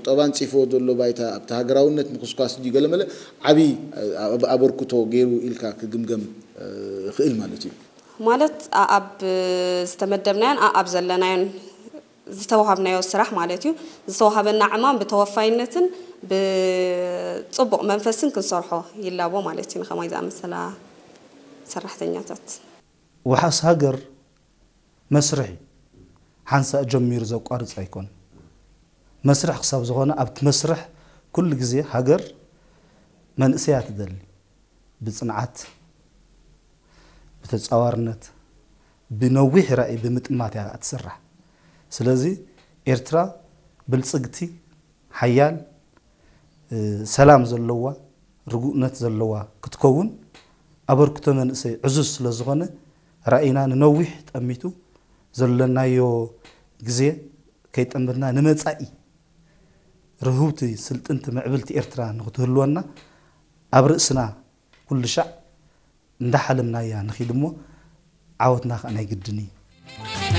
ቁጠባ ኣንጺፍዎ ዘሎ ባይታ ኣብቲ ሃገራውነት ምኹስኳስ ድዩ ገለመለ ዓቢ ኣበርክቶ ገይሩ ኢልካ ክግምገም ይኽእል ማለት እዩ። ማለት ኣብ ዝተመደብናዮን ኣብ ዘለናዮን ዝተዋሃብናዮ ስራሕ ማለት እዩ። ዝተዋሃበና ዕማም ብተወፋይነትን ብፅቡቕ መንፈስን ክንሰርሖ ይላቦ ማለት እዩ። ንኸማይ ዝኣመሰላ ሰራሕተኛታት ውሓስ ሃገር መስርሕ እዩ። ሓንሳእ ጀሚሩ ዘቋርፅ ኣይኮን። መስርሕ ክሳብ ዝኾነ ኣብቲ መስርሕ ኩሉ ግዜ ሃገር መንእሰያ ትደሊ። ብፅንዓት፣ ብተፃዋርነት፣ ብነዊሕ ራእይ ብምጥማት እያ ትስራሕ። ስለዚ ኤርትራ ብልፅግቲ፣ ሓያል፣ ሰላም ዘለዋ፣ ርጉእነት ዘለዋ ክትከውን ኣበርክቶ መንእሰይ ዕዙዝ ስለዝኾነ ራእይና ንነዊሕ ጠሚቱ ዘለናዮ ግዜ ከይጠመትና ንመፃኢ ርህውቲ ስልጥንቲ ምዕብልቲ ኤርትራ ንክትህልወና ኣብ ርእስና ኩሉ ሻዕ እንዳሓለምናያ ንኺድ እሞ ዓወትና ከዓ ናይ ግድን እዩ።